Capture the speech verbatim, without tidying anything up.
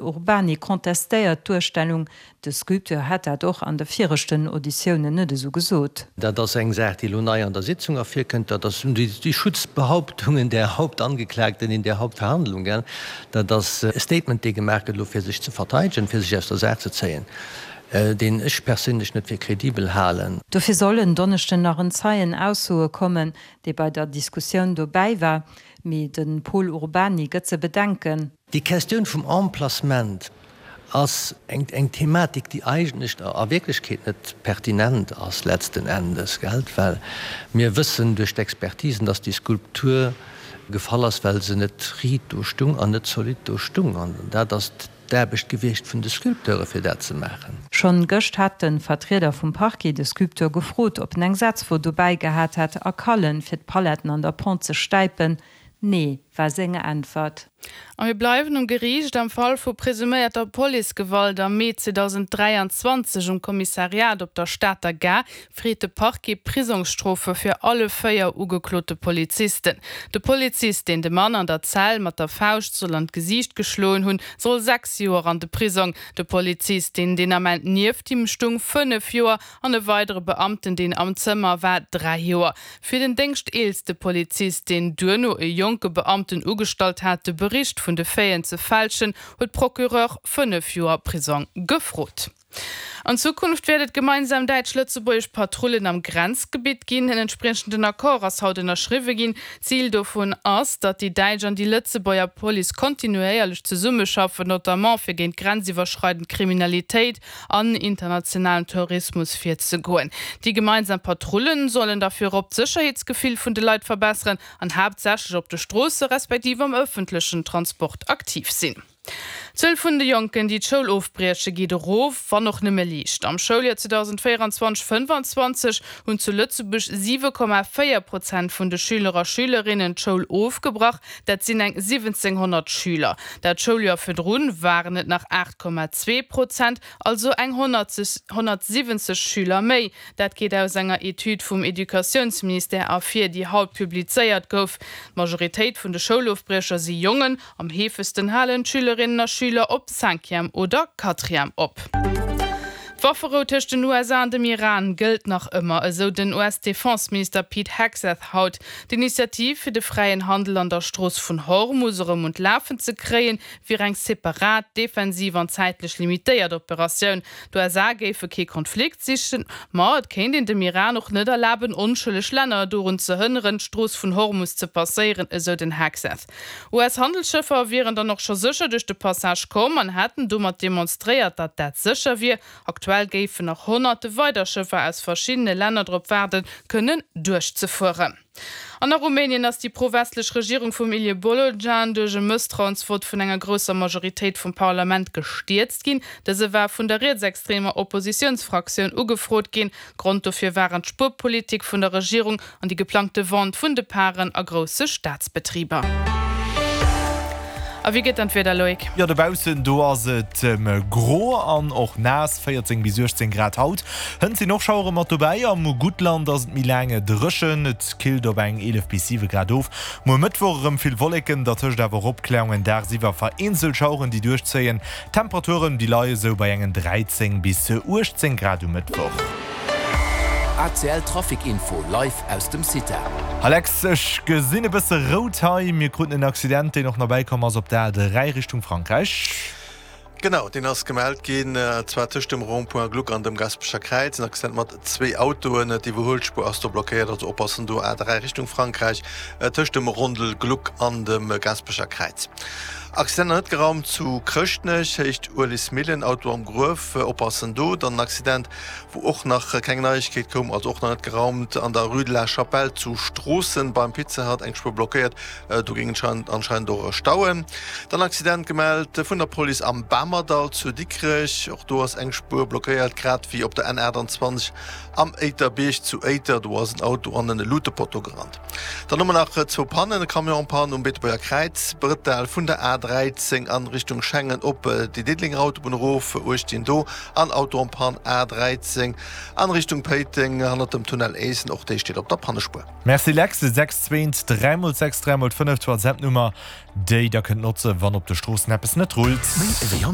Urbany contestéiert d'Duerstellung, de Sculpteur hätt dat och an de viregten Auditiounen net esou gesot. Dat ass eng Saach, déi elo nei an der Sitzung ervirkënnt, dat ass déi Schutzbehauptungen der Hauptangeklagten in der Hauptverhandlung, gell. Dat ass e Statement, dee gemaach gëtt elo fir sech ze verteidegen, fir sech aus der Saach ze zéien, deen ech perséinlech net fir kredibel halen. Dofir soll en Donneschden nach en Zeien aussoe kommen, dee bei der Diskussioun dobäi war. Mee de Pol Urbany gëtt ze bedenken. Déi Questioun vum Emplacement ass eng eng Thematik, déi eigentlech a Wierklechkeet net pertinent ass letzten Endes, gell, well mir wëssen duerch d'Expertisen, dass déi Skulptur gefall ass, well se net riit do stung an net zolidd do stung. An dat ass d'Aarbecht gewiescht vun de Sculpteure fir dat ze maachen. Schonn gëscht hat de Vertrieder vum Parquet de Sculpteur gefrot, ob en eng Setzwo dobäi gehat hätt a Kallen, fir d'Paletten an der Pente ze stäipen. Nee, war seng Äntwert. A mir bleiwen um Geriicht. Am Fall vu presuméierter Policegewalt am Mee zweedausend dräianzwanzeg um Kommissariat op der Stater Gare freet de Parquet Prisongsstrofe fir alle véier ugeklote Polizisten. De Polizist, deen de Mann an der Zell mat der Fauscht soll an d'Gesiicht geschloen hunn, soll sechs Joer an de Prisong. De Polizist, deen deen Ament nieft him stung, fënnef Joer an e weidere Beamten, deen am Zëmmer war, dräi Joer. Fir den déngschteelste Polizist, deen duerno e jonke Beamten ugestallt hat, de Bericht vun de Faiten ze fälschen, huet Procureur fënnef Joer Prisong gefrot. An Zukunft wäert et gemeinsam däitsch-lëtzebuergesch Patrullen am Grenzgebitt ginn. En entspriechenden Accord ass haut ënnerschriwwe ginn. Zil dovun ass, datt déi däitsch an déi Lëtzebuerger Police kontinuéierlech zesummeschaffen, notamment fir géint grenziwwerschreidend Kriminalitéit an internationalen Terrorismus virzegoen. Déi gemeinsam Patrullen sollen da virop d'Sécherheetsgefill vun de Leit verbesseren an haaptsächlech op de Stroosse respektiv am ëffentlechen Transport aktiv sinn. D'Zuel vun de Jonken, déi d'Schoul ofbrieche geet erof, wann och nëmme liicht. Am Schouljoer zweedausendvéierenzwanzeg fënnfanzwanzeg hunn zu Lëtzebuerg siwe Komma véier Prozent vun de Schüler a Schülerinnen d'Schoul ofgebrach, dat sinn eng siwwenzénghonnert Schüler. Dat Schouljoer virdrun waren et nach aacht Komma zwee Prozent, also eng honnertsiwwenzeg Schüler méi. Dat geet aus enger Etüd vum Educatiounsministère ervir, déi haut publizéiert gouf. D'Majoritéit vun de Schoulofbriecher si Jongen, am heefegsten halen d'Schülerinnen a Schüler op Cinquième oder Quatrième op. D'Wafferou tëscht den U S A an dem Iran gëllt nach ëmmer, esou den U S-Defenseminister Pete Hegseth haut. D'Initiativ fir de fräien Handel an der Strooss vun Hormus erëm un d'Lafen ze kréien, wier eng separat, defensiv an zäitlech limitéiert Operatioun. D'U S A géife kee Konflikt sichen, ma et kéint een dem Iran och net erlaben, onschëlleg Länner dorun ze hënneren, d'Strooss vun Hormus ze passéieren, esou den Hegseth. U S-Handelsschëffer wieren dann och scho sécher duerch de Passage komm an hätten domat demonstréiert, datt dat sécher wier. Aktuell géifen nach honnerte weider Schëffer aus verschiddene Länner drop waarden, kënnen duerchzefueren. An a Rumänien ass déi pro-westlech Regierung vum Ilie Bolojan duerch e Mësstrauensvott vun enger grousser Majoritéit vum Parlament gestierzt ginn. Dëse war vun der rietsextremer Oppositiounsfraktioun ugefrot ginn. Grond dofir waren d'Spuerpolitik vun der Regierung an déi geplangte Vente vun de Paren a grousse Staatsbetriber. A wéi gëtt dann d'Wieder, Loïc? Jo, dobaussen do ass et gro an och naass, véierzéng bis uechtzéng Grad haut. Hënt sinn och Schauere mat dobäi. Am Guttland ass et méi laang dréchen, et killt op eng eelef bis siwe Grad of. Muer Mëttwoch erëm vill Wolleken, dertëscht awer och Opkläerungen, dagsiwwer vereenzelt Schaueren, déi duerchzéien. D'Temperaturen, déi leie sou bei engen dräizéng bis uechtzéng Grad um Mëttwoch. A C L Trafic Info live aus dem CITA. Alex, ech gesinn e bësse rout hei. Mir kruten en Accident, deen och nach bäikomm ass op der A dräi Richtung Frankräich. Genau, deen ass gemellt ginn, zwar tëscht dem Rond-point Gluck an dem Gasperecher Kräiz. En Accident mat zwee Autoen. D'Iwwerhuelspuer ass do blockéiert, also oppassen do, A dräi Richtung Frankräich tëscht dem Rondel Gluck an dem Gasperecher Kräiz. Accident nach net geraumt zu Chrëschtnech, Héicht Uelismillen, Auto am Gruef, oppassen do. Dann en Accident, wou och nach keng Neiegkeet koum, also och nach net geraumt, an der Rue de la Chapelle zu Stroossen beim Pizza Hut, eng Spuer blockéiert, do géing et anscheinend och stauen. Dann Accident gemellt vun der Police am Bamerdall zu Dikrech, och do ass eng Spuer blockéiert, grad wéi op der N achtanzwanzeg am Éiterbierg zu Éiter, do ass en Auto an en Lutepotto gerannt. Dann hu mer nach zwou Pannen, e Camion en panne um Beetebuerger Kräiz, Brëttel vun der A dräizéng an Richtung Schengen op déi Diddelenger Autobunn erof, uecht do, an Auto en panne A dräizéng an Richtung Péiteng hannert dem Tunnel Éissen, och déi steet op der Pannespuer. Merci Lex, sechs zwee dräi mol sechs dräi mol fënnef, d'WhatsApp-Nummer déi der kënnt notzen, wann op de Stroossen eppes net rullt. Méi ewéi